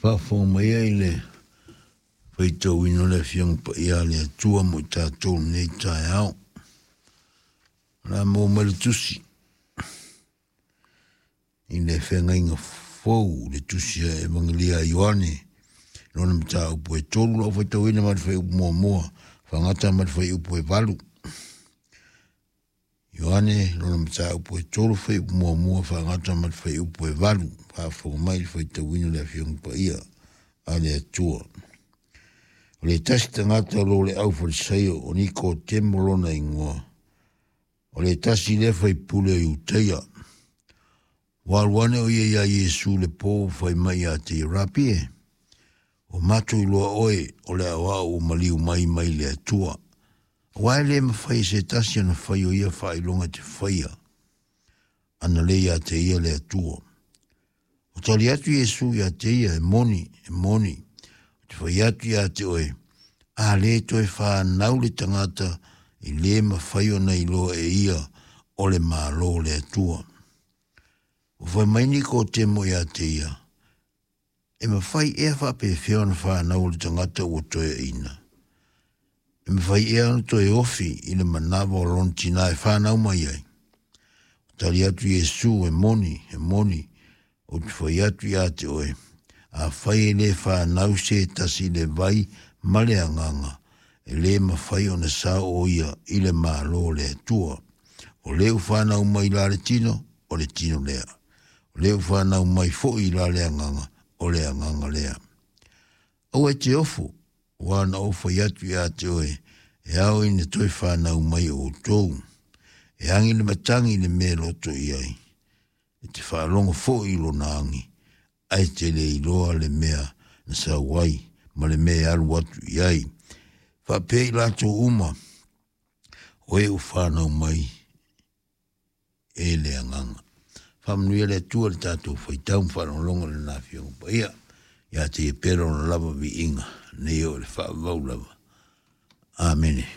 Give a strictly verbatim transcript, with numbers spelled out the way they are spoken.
Faafofoga mai ai le faitauina o le Afioga Paia a le Atua mo i tatou lenei taeao. O le a maua mai le tusi i le feagaiga fou, le tusi a Evagelia a Ioane, lona mataupu e tolu lau faitauina mai le fuaiupu muamua, faagata mai le fuaiupu e valu. Ioane lona mataupu e tolu fuaiupu muamua faagata mai le fuaiupu e valu. Faafofoga mai le faitauina o le Afioga Paia a le Atua. O le tasi tagata o lo le au Farisaio o Nikotemo lona igoa. O le tasi lea faipule o Iutaia. Ua alu ane o ia iā Iesu le po fai mai ia te ia, Rapi e, ua matou iloa oe o le aoao ua maliu mai mai le Atua. Aua e le mafai e se tasi ona fai o ia faailoga e te faia, ana le ia te ia le Atua. Ua tali atu Iesu ia te ia, e moni, e moni, ou te fai atu ia te oe, a le toe whanau le tagata e le mafai ona iloa e ia o le Malo o le Atua. Ua fai mai Nikotemo ia te ia, e mafai ea faapefea ona whanau o le tagata ua toeaina. E mafai ea ona toe ofi i le manava o lona tina e whanau mai ai. Ua tali atu Iesu, e moni, e moni, ou te fai atu ia te oe, afai e le whanau se tasi le vai ma le agaga, e le mafai ona sao o ia i le Malo o le Atua. O le ua whanau mai la le tino, o le tino lea. O le ua whanau mai foi la le agaga, o le agaga lea. Aua e te ofo, ua na ou fai atu ia te oe, e ao ina toe whanau mai o outou. E angi le matangi le mea loto i ai. E te whaalongo foi i lona angi, ae te le iloa le mea na sau ai, ma le mea e alu atu i ai. Faapea i latou uma, o e ua whanau mai e le agaga. Faamanuia le Atua le tatou faitau ma faalogologo i lana Afioga Paia. Ia te ia pea lona lava viiga, nei o le faavavau lava. Amene.